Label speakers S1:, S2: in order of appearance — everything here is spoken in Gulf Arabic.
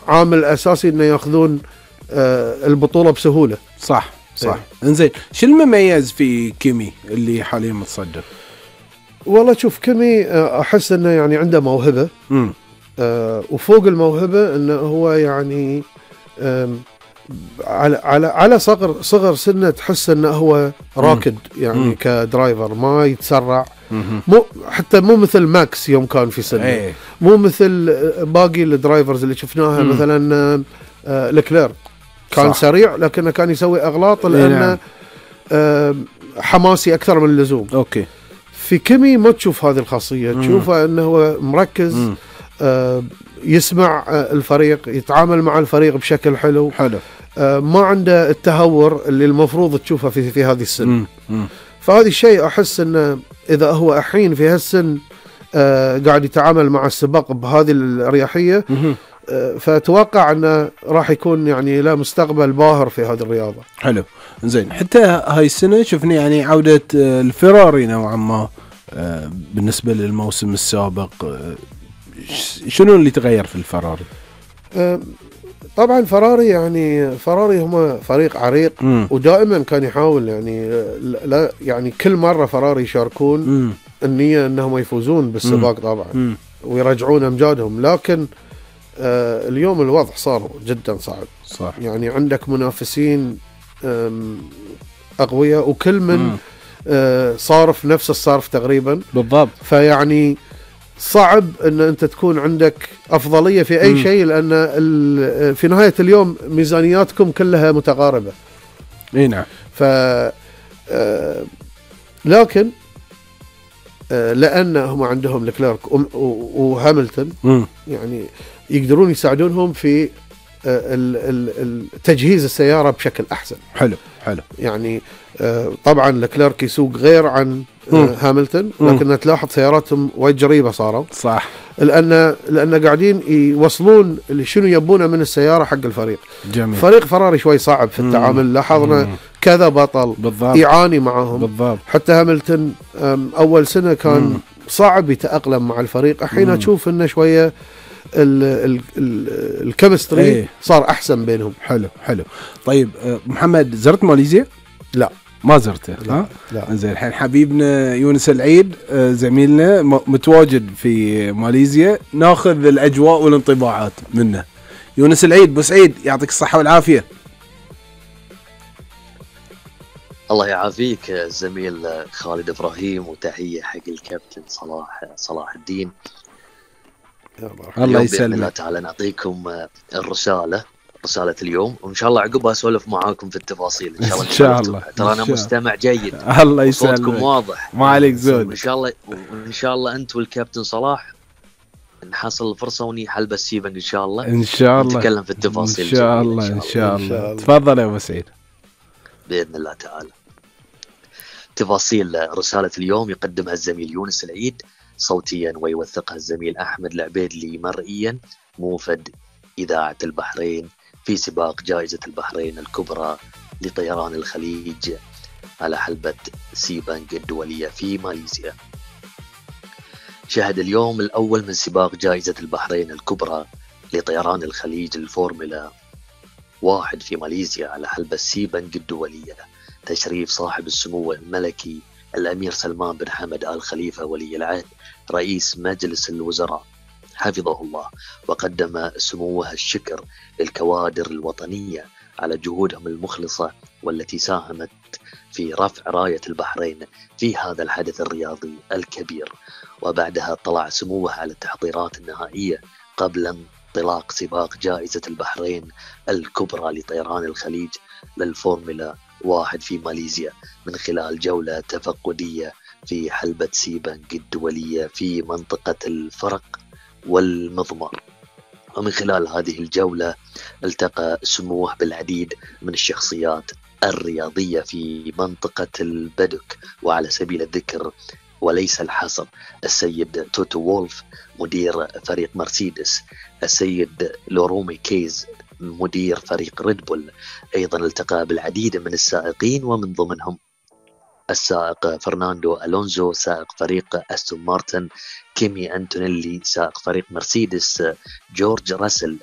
S1: عامل أساسي إنه يأخذون البطولة بسهولة.
S2: صح. إنزين، شو المميز في كيمي اللي حاليا متصدر؟
S1: والله شوف، كيمي أحس إنه يعني عنده موهبة، وفوق الموهبة إنه هو يعني على صغر سنه تحس إنه هو راكد يعني كدرايفر، ما يتسرع، مو مثل ماكس يوم كان في سنه، مو مثل باقي الدرايفرز اللي شفناها، مثلا لكلير كان صح. سريع لكنه كان يسوي أغلاط لأنه حماسي أكثر من اللزوم.
S2: أوكي.
S1: في كيمي ما تشوف هذه الخاصية، تشوفه أنه هو مركز، يسمع الفريق، يتعامل مع الفريق بشكل حلو. ما عنده التهور اللي المفروض تشوفه في هذه السن. فهذا الشيء أحس أنه إذا هو الحين في هالسن قاعد يتعامل مع السباق بهذه الأريحية، فأتوقع أنه راح يكون يعني له مستقبل باهر في هذه الرياضة.
S2: حلو. زين، حتى هاي السنة شفنا يعني عودة الفيراري نوعا ما بالنسبة للموسم السابق. شنو اللي تغير في الفراري؟
S1: طبعا فراري هم فريق عريق، ودائما كان يحاول يعني لا يعني كل مرة فراري يشاركون النية أنهم يفوزون بالسباق طبعا ويرجعون أمجادهم، لكن اليوم الوضع صار جدا صعب.
S2: صح.
S1: يعني عندك منافسين أقوياء، وكل من صارف نفس الصرف تقريبا.
S2: بالضبط.
S1: فيعني صعب أن أنت تكون عندك أفضلية في أي شيء، لأن في نهاية اليوم ميزانياتكم كلها متقاربة.
S2: نعم.
S1: لكن لأن هم عندهم لكليرك وهاملتون يعني يقدرون يساعدونهم في تجهيز السيارة بشكل أحسن.
S2: حلو.
S1: يعني طبعا لكليرك يسوق غير عن هاملتون، لكن تلاحظ سياراتهم وايد جريبة صاروا.
S2: صح.
S1: لأن قاعدين يوصلون اللي شنو يبونه من السيارة حق الفريق.
S2: جميل.
S1: فريق فراري شوي صعب في التعامل، لاحظنا كذا بطل
S2: بالضبط.
S1: يعاني معهم.
S2: بالضبط.
S1: حتى هاملتون أول سنة كان صعب يتأقلم مع الفريق، الحين تشوف إنه شوية الكيمستري صار أحسن بينهم.
S2: حلو. طيب محمد، زرت ماليزيا؟
S1: لا،
S2: ما زرته. لا. زين، الحين حبيبنا يونس العيد زميلنا متواجد في ماليزيا، ناخذ الأجواء والانطباعات منه. يونس العيد، بو سعيد، يعطيك الصحة والعافية.
S3: الله يعافيك زميل خالد إبراهيم، وتحية حق الكابتن صلاح الدين.
S2: الله يسلمك.
S3: بإذن الله تعالى نعطيكم رسالة اليوم، وإن شاء الله عقبها أسولف معاكم في التفاصيل إن شاء الله. ترى أنا مستمع جيد.
S2: الله يسلمك.
S3: صوتكم واضح،
S2: ما عليك زود.
S3: وإن شاء الله أنت والكابتن صلاح نحصل الفرصة ونحل بالسيبنج إن شاء الله. نتكلم في التفاصيل
S2: إن شاء الله. تفضل يا أبو سعيد.
S3: بإذن الله تعالى. تفاصيل رسالة اليوم يقدمها الزميل يونس العيد صوتيا، ويوثقها الزميل أحمد العبيدلي مرئيا، موفد إذاعة البحرين في سباق جائزة البحرين الكبرى لطيران الخليج على حلبة سيبنج الدولية في ماليزيا. شهد اليوم الأول من سباق جائزة البحرين الكبرى لطيران الخليج الفورمولا 1 في ماليزيا على حلبة سيبنج الدولية تشريف صاحب السمو الملكي الأمير سلمان بن حمد آل خليفة ولي العهد رئيس مجلس الوزراء حفظه الله، وقدم سموه الشكر للكوادر الوطنية على جهودهم المخلصة والتي ساهمت في رفع راية البحرين في هذا الحدث الرياضي الكبير. وبعدها اطلع سموه على التحضيرات النهائية قبل انطلاق سباق جائزة البحرين الكبرى لطيران الخليج للفورمولا 1 في ماليزيا من خلال جولة تفقدية في حلبة سيبنج الدولية في منطقة الفرق والمضمار. ومن خلال هذه الجولة التقى سموه بالعديد من الشخصيات الرياضية في منطقة البدك، وعلى سبيل الذكر وليس الحصر السيد توتو وولف مدير فريق مرسيدس، السيد لورومي كيز مدير فريق ريد بول. أيضا التقى بالعديد من السائقين، ومن ضمنهم السائق فرناندو ألونزو سائق فريق أستون مارتن، كيمي أنتونيلي سائق فريق مرسيدس، جورج راسل